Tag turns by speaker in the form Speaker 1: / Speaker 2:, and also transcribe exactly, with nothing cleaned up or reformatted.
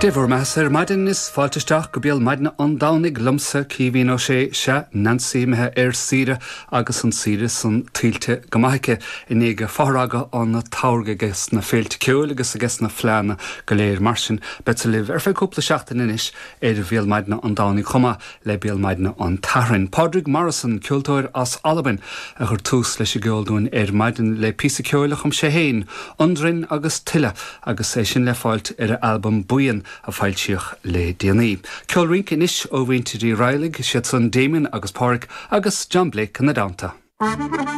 Speaker 1: Dia bhur mbeatha ar maidin is fáilte isteach go béal maidine an Domhnaigh liomsa Caoimhín Ó Sé sé Nancy imithe ar saoire agus an saoire san tuillte go maith aici i ndiaidh fothragadh an tsamhraidh agus na féilte ceoil agus agus na fleánna go léir mar sin beidh libh ar feadh cúpla seachtain anois ar bhéal maidine an Domhnaigh chomh maith le béal maidine an tSathairn. Pádraig Morrison ceoltóir as Albain a chuir tús leis an gceol dúinn ar maidin le píosa ceoil a chum sé féin, Undrin agus tuilleadh agus é sin le fáilt ar a albam Buíon a foilsíodh le déanaí. Ceol rince anois ó mhuintir Uí Raghallaigh siad san Damien agus Pádraig agus John Blake ina dteannta.